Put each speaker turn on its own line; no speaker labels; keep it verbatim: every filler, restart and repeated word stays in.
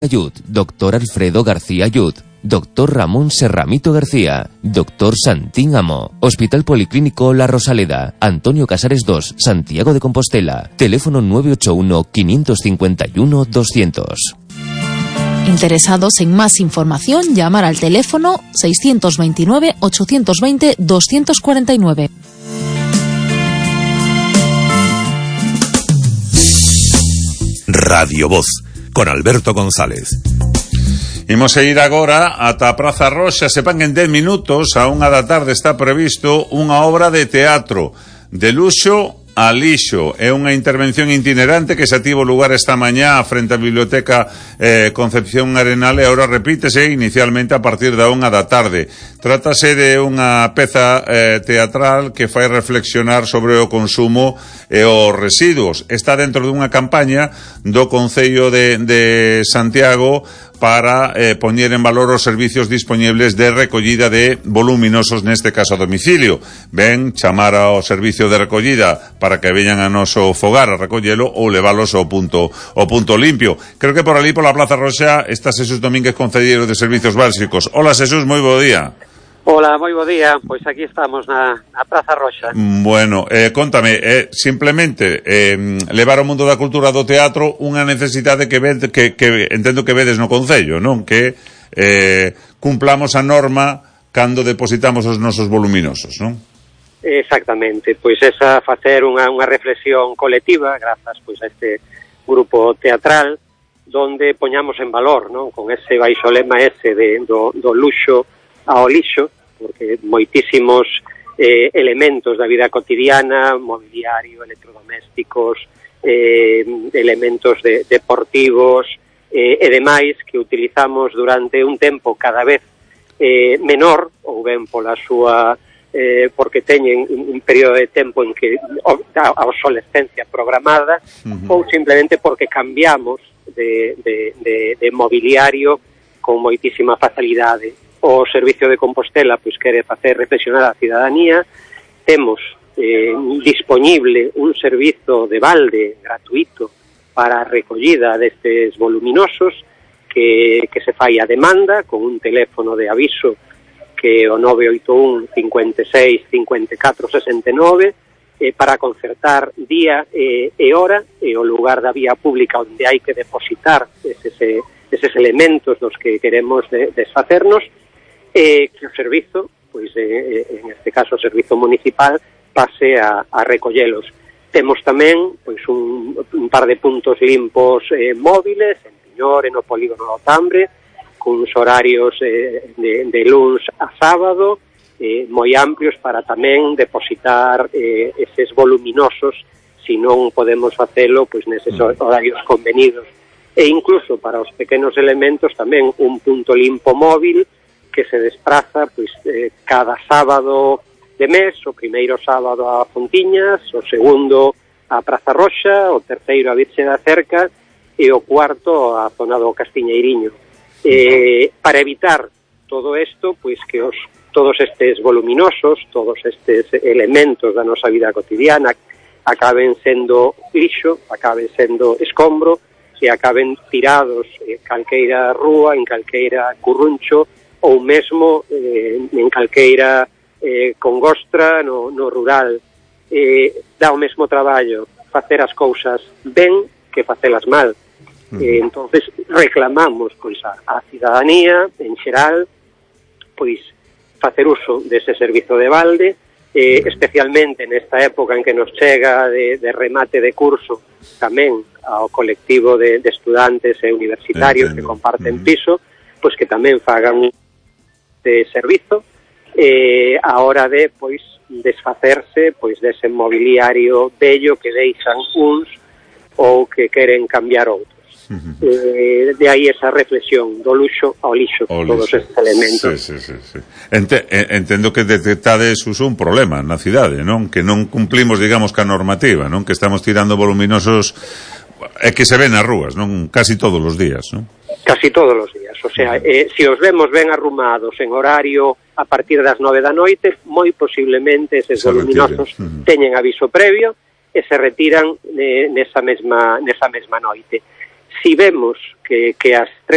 Ayud, doctor Alfredo García Ayud, doctor Ramón Serramito García, doctor Santín Amo, Hospital Policlínico La Rosaleda, Antonio Casares dos, Santiago de Compostela, teléfono nueve ocho uno, cinco cinco uno, doscientos.
Interesados en más información, llamar al teléfono seiscientos veintinueve, ochocientos veinte, doscientos cuarenta y nueve.
Radio Voz, con Alberto González.
Imos a ir agora ata a Praza Roxa. Sepan que en dez minutos, a unha da tarde, está previsto unha obra de teatro de luxo a lixo. É unha intervención itinerante que se tivo lugar esta mañá frente á Biblioteca eh, Concepción Arenal e agora repítese inicialmente a partir da unha da tarde. Trátase de unha peza eh, teatral que fai reflexionar sobre o consumo e os residuos. Está dentro dunha campaña do Concello de, de Santiago para eh, poñer en valor os servicios disponibles de recollida de voluminosos, neste caso a domicilio. Ben chamar ao servicio de recollida para que veñan a noso fogar a recollelo ou leválos ao punto, ao punto limpio. Creo que por ali, pola Plaza Roxa, está Xesús Domínguez, concelleiro de Servicios Básicos. Hola, Xesús, moi bo día.
Hola, moi bo día. Pois aquí estamos na, na Praza Roxa.
Bueno, eh, contame, eh, simplemente eh, levar ao mundo da cultura do teatro unha necesidade que, ved, que, que entendo que vedes no Concello, non? Que eh, cumplamos a norma cando depositamos os nosos voluminosos, non?
Exactamente, pois esa facer unha, unha reflexión colectiva grazas pois a este grupo teatral donde poñamos en valor, non? Con ese baixo lema ese de, do, do luxo ao lixo, porque moitísimos eh, elementos da vida cotidiana, mobiliario, electrodomésticos, eh, elementos de, deportivos eh, e demais que utilizamos durante un tempo cada vez eh, menor, ou ben pola súa eh, porque teñen un, un período de tempo en que a obsolescencia programada, uh-huh. ou simplemente porque cambiamos de, de, de, de mobiliario con moitísima facilidade. O Servicio de Compostela pois quere facer reflexionar a cidadanía. Temos eh, disponible un servizo de balde gratuito para a recollida destes voluminosos que, que se fai a demanda con un teléfono de aviso que é o nove oito un, cinco seis, cinco catro, seis nove eh, para concertar día e, e hora e o lugar da vía pública onde hai que depositar eses, eses elementos dos que queremos de, desfacernos. Eh, que o servizo, pois eh, en este caso o servizo municipal, pase a, a recollelos. Temos tamén pois un, un par de puntos limpos eh, móviles en Piñor, no polígono do Tambre, con uns horarios eh, de, de luns a sábado eh, moi amplios para tamén depositar eh, eses voluminosos se non podemos facelo pois neses horarios convenidos. E incluso para os pequenos elementos tamén un punto limpo móvil que se despraza pois eh, cada sábado de mes, o primeiro sábado a Fontiñas, o segundo a Praza Roxa, o terceiro a Virxe da Cerca e o cuarto a zona do Castiñeiriño. Eh, para evitar todo isto, pois que os todos estes voluminosos, todos estes elementos da nosa vida cotidiana acaben sendo lixo, acaben sendo escombro e acaben tirados en calqueira rúa, en calqueira curruncho ou mesmo eh, en calqueira eh, congostra no, no rural. Eh, dá o mesmo traballo facer as cousas ben que facelas mal. Eh, entonces reclamamos pois a, a cidadanía en xeral pois facer uso dese servizo de balde, eh, especialmente nesta época en que nos chega de, de remate de curso tamén ao colectivo de, de estudantes e universitarios Entiendo. que comparten piso, pois que tamén fagan de servizo eh, a hora de pois desfacerse pois dese mobiliario bello que deixan uns ou que queren cambiar outros. Uh-huh. Eh, de aí esa reflexión do luxo ao lixo, o todos lixo. Estes elementos.
Sí, sí, sí, sí. Ente, entendo que detectades uso un problema na cidade, non? Que non cumplimos, digamos, ca normativa, non? Que estamos tirando voluminosos é que se ven nas rúas, non? Casi todos os días, non?
Casi todos os días, o sea, eh, se os vemos ben arrumados en horario a partir das nove da noite, moi posiblemente eses se voluminosos uh-huh. teñen aviso previo e se retiran eh, nesa mesma nesa mesma noite. Si vemos que, que as tres